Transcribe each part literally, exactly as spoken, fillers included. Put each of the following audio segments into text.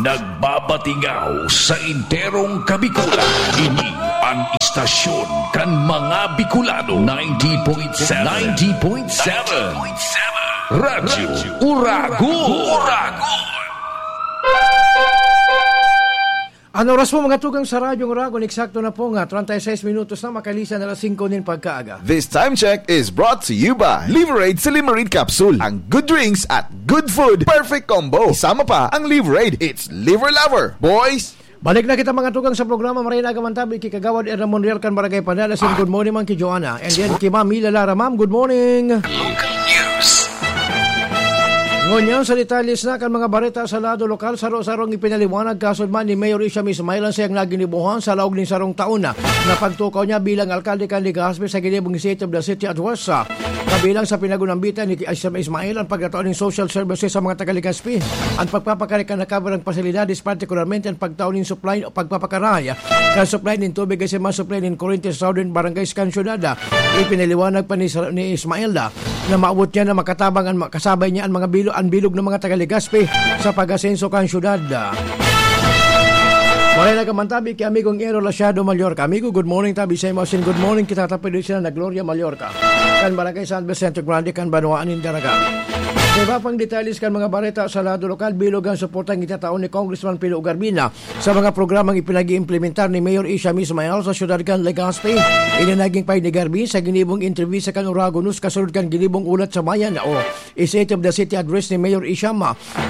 Nagbabatingaw sa enterong Kabikulan. Ini ang istasyon kan mga Bicolano. Ninety point seven. Ninety point seven. Radyo Uragon. Uragon. Ang oras po, mga tugang, sa Radyo Uragon, eksakto na po nga, treinta y seis minutos na, makalisan na alas singko nin pagkaaga. This time check is brought to you by Liverade Silimarin Capsule. Ang good drinks at good food, perfect combo. Isama pa ang Liverade. It's Liver Lover, boys! Balik na kita, mga tugang, sa programa Maray na Aga Man Tabi, ki Kagawad Erna Monreal kan Barangay Pandan. Asin, good morning man ki Joanna. And then ki Ma'am Mila Lara. Ma'am, good morning. Local news. Ngunyan sa detalye na kan mga bareta sa lado lokal, saro-sarong ipinaliwanag kasod man ni Mayor Isham Ismail ang sayang naginibuhan sa laog nin sarong taon na, na pagtukaw niya bilang alkalde kan Legazpi sa ginibong State of the City Address. Kabilang sa pinagunambitan ni Isham Ismail ang pagtatao nin social services sa mga taga Legazpi, ang pagpapakarekan na kabarang pasilidades, partikularmente ang pagtao nin supply o pagpapakaray kan supply nin tubig asin mga supply nin kuryente sa Southern Barangays kan syudad. Ipinaliwanag pa ni Sir, ni Ismael na, na maabot niya na makatabang an, kasabay niya an mga bilo, an bilog ng mga taga Legazpi sa pag-asenso kan syudad. Maray na Aga Man Tabi ki amigong Ero Lasiado Mallorca. Amigo, good morning, tabi sa imo. Asin, good morning kita, tapos din sila na Gloria Mallorca. Kan Barangay San Vicente Grande, kan Banwaan nin Daraga. Sa iba pang detalye kan mga bareta sa lado lokal, bilog ang suportang itatao ni Congressman Pilo Garbina sa mga programang ipinag-iimplementar ni Mayor Isham Ismail sa siyudad kan Legazpi. Ini naging pahayag ni Garbi sa ginibong entrevista kan Uragon News kasunod kan ginibong Ulat sa Bayan o State of the City Address ni Mayor Isham.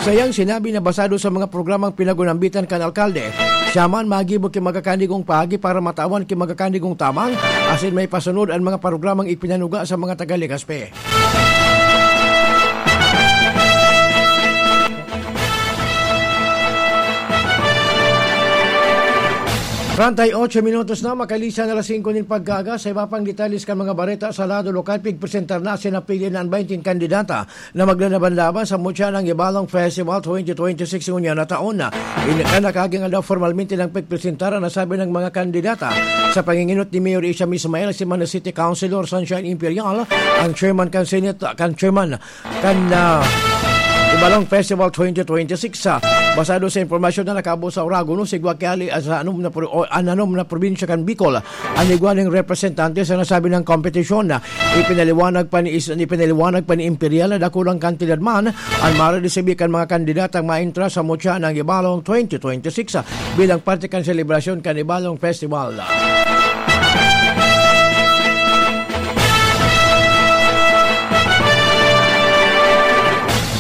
Sayang sinabi na basado sa mga programang pinagunambitan kan alkalde, siya man magibo ki magkakanigong paagi para matawan ki magkakanigong tabang, asin may pasunod an mga programang ipinanuga sa mga taga Legazpi. Treinta y ocho minutos na, makalisan na alas singko nin pagkaaga. Sa iba pang detalye kan mga bareta sa lado lokal, pigpresentar na asin napili na an baynte kandidata na maglalaban-laban sa Mutya ng Ibalong Festival twenty twenty-six ngunyan na taon. Ini kan nakaging aldaw, formalmente nang pigpresentar ang nasabi ng mga kandidata sa panginginot ni Mayor Isham Ismail, si Manila City Councilor Sunshine Imperial, ang chairman kan Senate, kan chairman kan, ah, Ibalong Festival twenty twenty-six, ah, basado sa impormasyon na nakaabot sa Uragon News, igwa ki ali, ah, sa anom na pro-, o, an anom na probinsya kan Bicol, an igwa ning representante sa nasabing kompetisyon. Ipinaliwanag pa ni Is-, ipinaliwanag pa ni Imperial na dakulang kantidad man an mareresibi kan mga kandidatang maentra sa Mutya ng Ibalong twenty twenty-six, ah, bilang parte kan selebrasyon kan Ibalong Festival.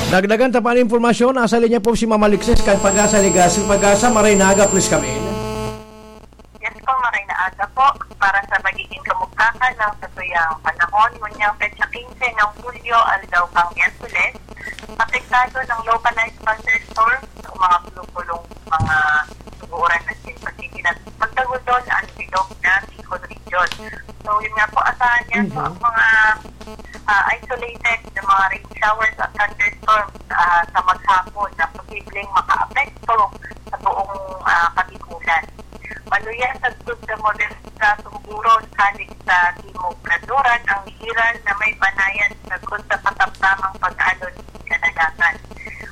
Dagdagan ta pa an impormasyon, nasa linya po si Ma'am Alexis kan Pag-asa Legazpi. Pag-asa, maray na aga, please come in. Yes po, maray na aga po. Para sa magiging kamugtakan ng satuyang panahon, ngunyang petsa quince ng Hulyo, aldaw kan Miyerkules, apektado ng localized thunderstorms o mga bulong-bulong, mga uran na sin pagkikinat-, pagtagudon ang bilog na Bicol Region. So, yun nga po, asahan niya po Mhm. ang mga, ah, isolated na mga rain showers at thunderstorms, ah, sa maghapon na posibleng makaapekto sa buong, ah, Kabikulan. Maluya sagkod sa moderat na sumburon halik sa Timog Kanluran ang Iran na may banayad sagkod sa katamtamang pag-alon sa kadagatan.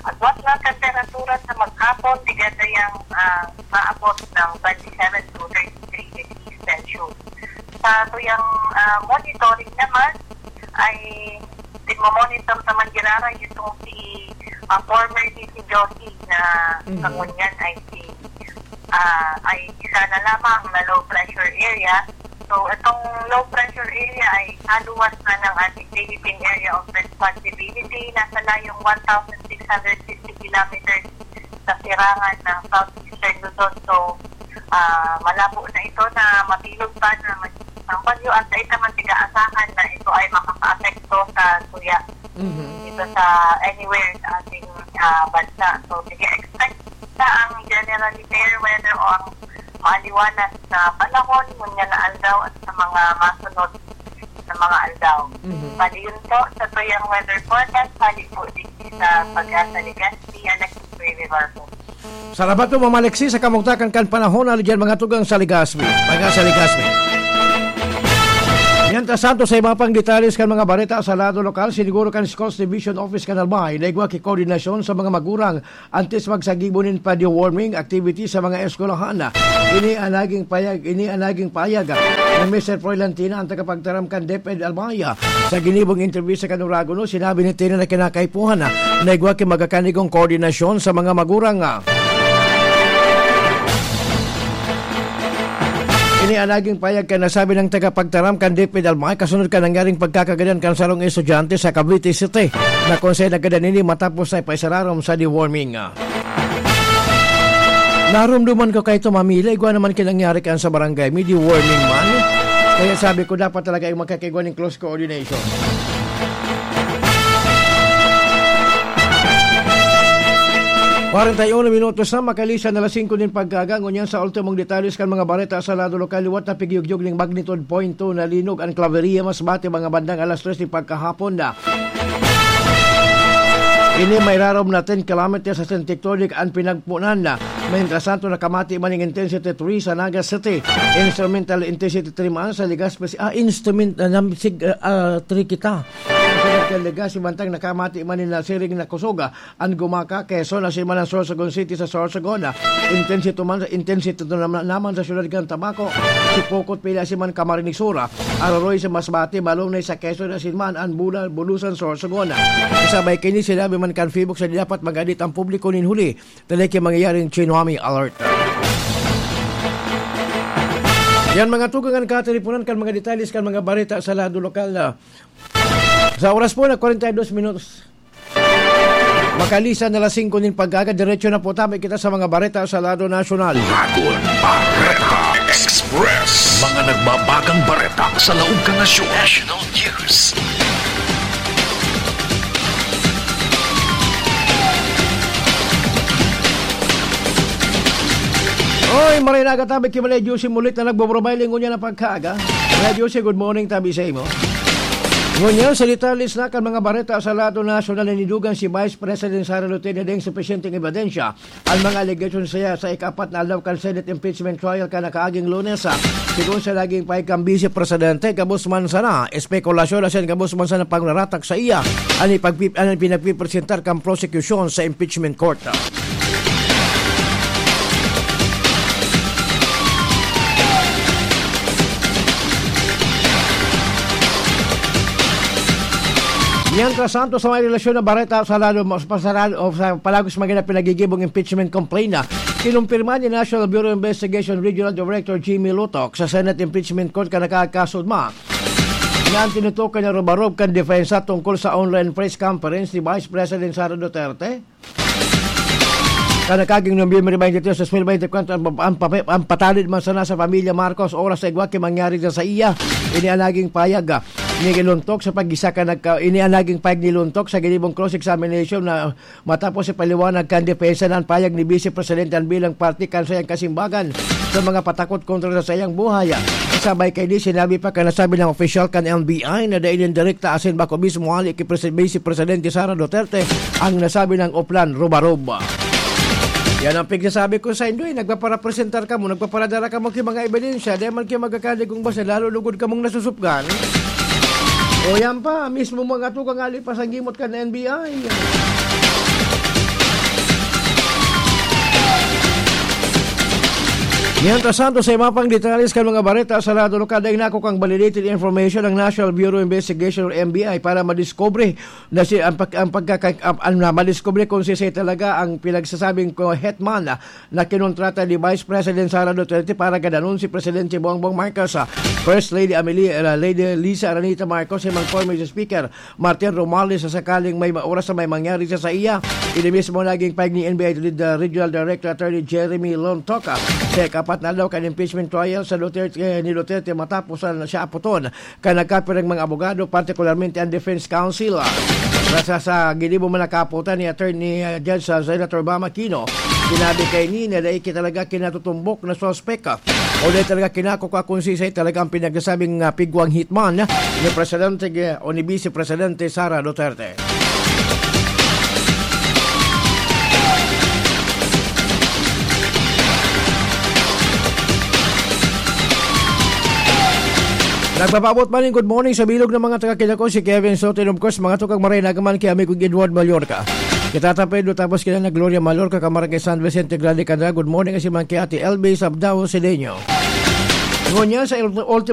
Agwat na temperatura sa maghapon, di ganda yang, ah, maabot ng twenty-seven to thirty-three degrees Celsius. Sa tuyang, ah, monitoring naman, ay pinmomonitor sa Manggirara itong si, ah, former D C Josie na Mhm. sa ngunyan ay si, ah, ay isa na lamang na low pressure area. So, itong low pressure area ay haluwas na ng ating Philippine Area of Responsibility. Nasa layong one thousand six hundred fifty kilometers sa sirangan ng Southeastern Luzon. So, ah, malabo na ito na mabilog pa na mag-, ang bagyo at sa ita man tiga-asahan na ito ay makakaapekto sa tuya Mhm. dito sa anywhere sa ating, ah, bansa. So, sige, expect na ang generally fair weather o ang maaliwalas na panahon, ngunyan na aldaw at sa mga masunod na mga aldaw. Mhm. Bali, yun po sa tuyang weather forecast, bali po din sa Pag-asa Legazpi, Alexis Rivivar po. Salamat po, Ma'am Alexis, sa kamugtakan kan panahon, ali diyan mga tugang sa Legazpi. Pag-asa Legazpi. Mientras tanto, sa iba pang detalles kan mga bareta sa lado lokal, siniguro kan Schools Division Office kan Albay na igwa ki koordinasyon sa mga magurang antes magsagibo nin pa-deworming activity sa mga eskwelahan. Ini ang naging payag, ini ang naging payag ni Mister Froilan Tina, ang tagapagtaram kan DepEd Albay. Sa ginibong interview sa kan Oragon, sinabi ni Tina na kinakaipuhan na igwa ki magkakanigong koordinasyon sa mga magurang. Ini ang naging payag kan nasabi nang tagapagtaram kan DepEd Albay kasunod kan nangyaring pagkakagadan kan sarong estudyante sa Cavite City, na kung saan naggadan ini matapos na ipaisararom sa deworming. Narumduman ko kaito, Mami, igwa naman ki nangyari kan sa barangay, may deworming man. Kaya sabi ko, dapat talaga yung magkakaigwa ning close coordination. Kwarenta y uno minutos na makalisan na alas singko nin pagkaaga. Ngunyan sa ultimong detalles kan mga bareta sa lado lokal, liwat na pigyugyog ning magnitude point two na linog an Claveria, Masbate, mga bandang alas tres nin pagkahapon na. Ini may rarom na ten kilometers sa Saint Tectonic an pinagpunan na. Mientras tanto, nakamati man ning intensity three sa Naga City. Instrumental intensity three man sa Legazpi. Ah, instrument, ah, nam-, sig-, ah, ah, three kita. Sa Legazpi, mantang nakamati man nin nasiring na kusog, ah, an Gumaca, Quezon, asin man ang Sorsogon City sa Sorsogon. Intensity man, intensity naman, naman sa siyudad kan Tabaco, Sipocot, pila asin man Camarines Sur, Aroroy sa Masbate, Balonay sa Quezon, asin man an Bula-, Bulusan, Sorsogon. Kasabay kaini, sinabi man kan PHIVOLCS na di dapat mag-adit ang publiko nin huli, dahil ki mangyayaring tsunami alert. Yan, mga tugang, an katiriponan kan mga detalles kan mga bareta sa lado lokal na. Sa oras po na kwarenta y dos minutos. Makalisan na alas singko nin pagkaaga, diretso na po tabi kita sa mga bareta sa lado nasyonal. Bagong Bareta Express. Mga nagbabagang bareta sa laog kan nasyon. National News. Oy, maray na katabi ki Malay Juicy Mulit na nagbobrobay lingon niya na pagkaaga. Malay Juicy, good morning, tabi sa imo. Ngunyan, sa detalles na kan mga bareta sa lado nasyonal, nanidugang si Vice President Sara Duterte na daing supisyenteng ebidensya ang mga alegasyon saya sa ika-apat na aldaw kan Senate impeachment trial kan nakaaging Lunes. Sigon sa naging pahayag kan Vice Presidente, gabos man sana espekulasyon asin gabos man sana pagnaratak sa iya an ipagpi-, an pinagpipresentar kan prosekusyon sa impeachment court. Mientras tanto, sa may relasyon na bareta sa lalo, sa pasarado, o sa palagos mga na pinagigibong impeachment complaint na kinumpirma ni National Bureau of Investigation Regional Director Jimmy Lutok sa Senate Impeachment Court kan nakakasudma na an tinutukoy na rubarob kan depensa tungkol sa online press conference ni Vice President Sara Duterte. Kan nakaaging Nobyembre twenty-three, dos mil bente y kuwatro, an, an, an patalid man sana sa pamilya Marcos oras sa igwa ki mangyari sa, sa iya. Ini an naging payag, ah, ni Luntok sa pag-isa ka nagka-, ini an naging payag ni Luntok sa ginibong cross-examination na matapos ipaliwanag kan depensa na an payag ni Vice Presidente an bilang parte kan sayang kasimbagan sa mga patakot kontra sa sayang buhay. Sabay kaini, sinabi pa kan nasabi ng opisyal kan N B I na dai nin direkta asin bako mismo hali ki Presi-, Vice Presidente Sara Duterte ang nasabi ng oplan rubarob. Yan ang pigsasabi ko sa inyo, eh. Nagpaparepresentar kamo, nagpaparadara kamo ki mga ebidensya, dai man ki magkakaligong basta lalo lugod kamong nasusupgan. O yan pa, mismo mga tugang ali pa sa gimot kan N B I. Mientras tanto, sa iba pang detalles kan mga bareta sa lado lokal, dai nakukang validated information ang National Bureau of Investigation or N B I para madiskubre na si, ang pag-, ang pagkaka-, ang, ang, na madiskubre kung si, si talaga ang pinagsasabing ko hetman na kinontrata ni Vice President Sara Duterte para gadanon si Presidente Bongbong Marcos, ah, First Lady Amelia, ah, Lady Liza Araneta Marcos, si mga former Speaker Martin Romualdez sa sakaling may ma-, oras na may mangyari sa, sa iya. Ini mismo naging pahayag ni N B I Lead, ah, Regional Director Attorney Jeremy Lontoca sa ika-apat na aldaw kan impeachment trial sa Duterte, eh, ni Duterte matapos na siya aputon kan nagkapirang mga abogado, partikularmente ang defense counsel. Sa, sa, sa ginibo man nakaputan ni Attorney, ah, Judge, ah, Senator Bam Aquino, sinabi kaini na dai ki talaga kinatutumbok na suspek, ah, o dai talaga kinakukwa kung siisay talaga ang pinagsasabing, ah, pigwang hitman ni Presidente, eh, o ni Vice Presidente Sara Duterte. Nagpapaabot man ning good morning sa bilog ng mga taga-Quilacao, si Kevin Soto, and of course, mga tukang maray na agaman kay amigo Edward Mallorca. Kita ta Pedro, tapos kila na Gloria Mallorca, Camargue, San Vicente Grande, Candra. Good morning, kasi man kay Ate L B Sabdao Sedeño. Ngunyan sa Ultimo